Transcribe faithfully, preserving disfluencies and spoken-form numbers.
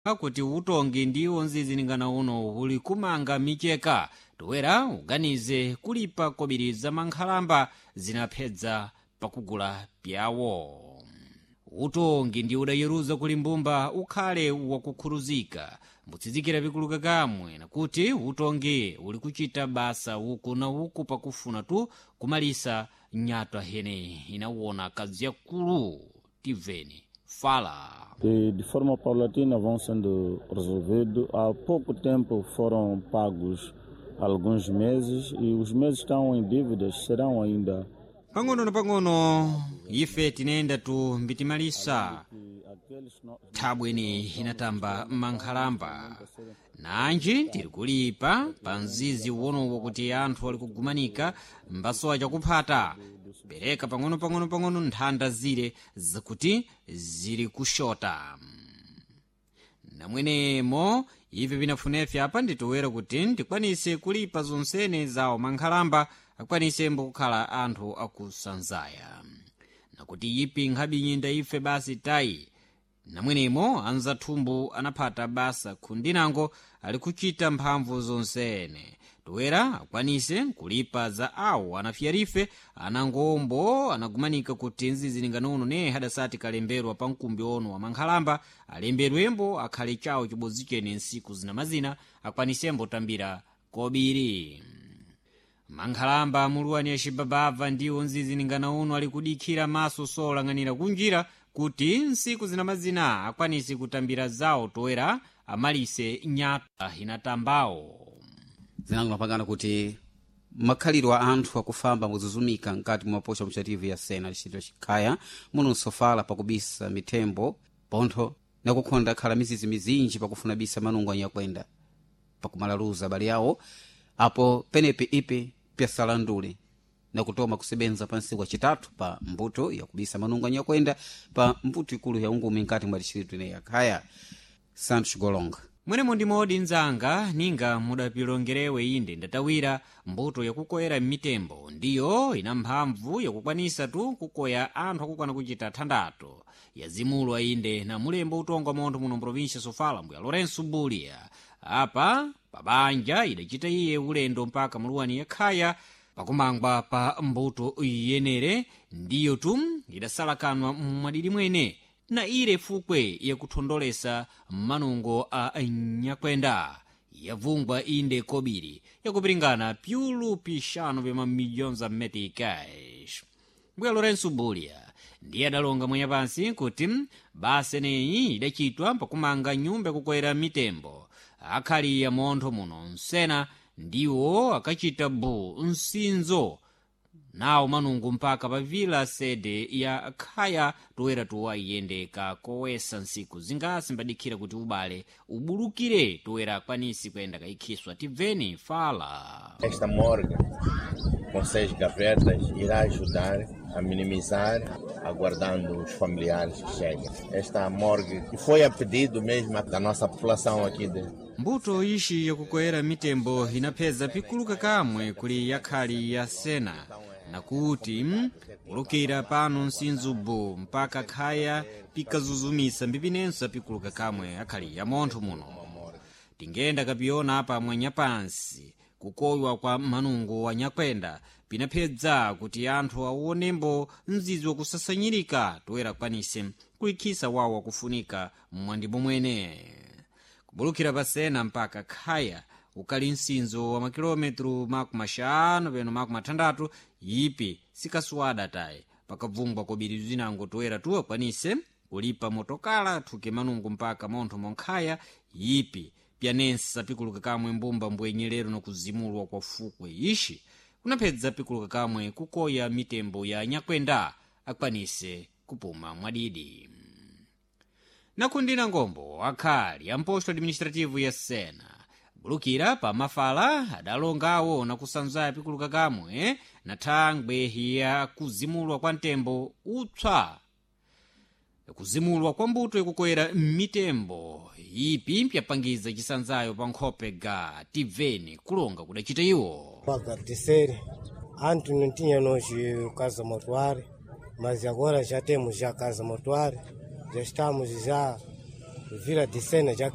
Kuti utongi ndiwo nzizilingana uno uli kumanga micheka toera uganize kulipa kobiri za mankhalamba zinaphedza pakugula pyawo. Utongi ndi udayeruza kuli mbumba ukhale wakukhuluzika mbutsizikira pikuluka kamwe nakuti utongi uli kuchita basa uku na uku pakufuna tu kumalisa nyatwa hene inawona kadziyakulu tibveni fala. Que de forma paulatina vão sendo resolvidos. Há pouco tempo foram pagos alguns meses e os meses estão em dívidas, serão ainda. Pang'ono na pang'ono ife tinayenda tu mbitimalisa thabweni inatamba mankhalamba nanji tiri kulipa pa mzizi uwonowo kuti anthu ali kugumanika mbasowa chakuphata pereka pang'ono pang'ono pang'ono nthanda zire zakuti zili kushota. Namwenemo ivi pinafunefye apa nditowera kuti ndikwanise kulipa zonsene zawo mankhalamba akwanise mbokukhala anthu akusanzaya nakuti ipi nkhabinyinda ife basi tayi. Namwenemo anzathumbu anaphata basa khundinango ali kuchita mphamvu zonsene toera akwanise kulipa za awo anafyarife anangombo anagumanika kuti nzizilinganono ne hadasati kalemberwa pa mkumbi ono wa mankhalamba alembedwembo akhale chawo chibodzi chene nsiku zinamazina akwanisembo tambira kobiri. Mankhalamba muluwani acibabava ndiwo nzizilingana uno ali kudikhira maso solang'anira kunjira kuti nsiku zinamazina akwanise kutambira zawo toera amalise nyatwa inatambawo. Zinango mapangano kuti makhalidwe a anthu akufamba muzuzumika mkati mwa mapocha muchativu ya sena licitiro chikhaya muno nsofala pakubisa mithembo pontho nakukhonda khala mizizi mizinji pakufuna bisa manungo anyakwenda pakumalaluza abale yawo apo penepe ipe pyasalandule nakutoma kusebenza pa nsiku acitatu pa mbuto yakubisa manungo anyakwenda pa mbuto ikulu ya ungumi mkati mwa distritu ineyi yakhaya. Santos Golonga. Mwenemo ndi modi nzanga ninga mudapilongerewe inde ndatawira mbuto yakukoyera mitembo ndiyo ina mphamvu yakukwanisa tu kukoya anthu akukwana kuchita thandatu yazimulwa inde na mulembo utonga montho muno mprovinsia Sofala mbuya Lourenço Bulia apa pabanja idacita iye ulendo mpaka muluwani yakhaya pakumangwa pa mbuto yenere ndiyo tu idasalakanwa mwadidi mwene na ile fukwe yakuthondolesa manungo a nyakwenda yavungwa inde kobiri yakupiringana pyulu pixanu pya mamilhões za meticais. Mbuya Lourenço Bulia ndiye adalonga mwenye pansi kuti basa eneyi idacitwa pakumanga nyumba yakukoyera mitembo akhali ya montho muno nsena ndiwo akachita bu msinzo nawo manungu mpaka pa vila sede ya khaya toera tuwa iyende kakowesa nsiku zingasi mbadikhira kuti ubale ubulukire toera akwanisi kuyenda kayikhiswa tibveni fala. Esta morgue com seis gavetas irá ajudar a minimizar, aguardando os familiares que cheguem. Esta morgue que foi a pedido mesmo da nossa população aqui de Mbuto ixi yakukoyera mitembo inapheza pikuluka kamwe kuli yakhali ya sena nakuti kulukira pano nsinzubu mpaka khaya pikazuzumisa mbipinenso apikuluka kamwe akhali ya montho muno. Tingenda kapiyona apa mwanyapansi kukoywa kwa manungo wa nyakwenda pinaphedza kuti anthu awonembo mzizi wakusasanyirika toera kwanise kulikhisa wawo wakufunika mwandimo mwene. Kubulukira pasena mpaka khaya ukali msinzo wa makilometro makumi axanu peno makumi athandatu ipi sikasuwada tayi pakabvungwa kobiri zinango toera tu akwanise kulipa motokala athuke manungo mpaka montho monkhaya ipi pyanensa pikuluka kamwe mbumba mbwenyelero nokuzimulwa kwa fukwe ixi kunaphedza pikuluka kamwe kukoya mitembo ya nyakwenda akwanise kupuma mwadidi. Nakundina ngombo akhali amposto administrativo ya sena bulukira pa mafala adalongawo nakusanzaya pikuluka kamwe na thangwe ya kuzimulwa kwa mtembo upsa kuzimulwa kwa mbuto yakukoyera mitembo ipi mpyapangiza chisanzayo pa nkhope ga tibveni kulonga kudacita iwo. Agradecer. Antes não tinha nós casa mortuária, mas agora já temos já casa mortuária, já estamos já Vila de Sena já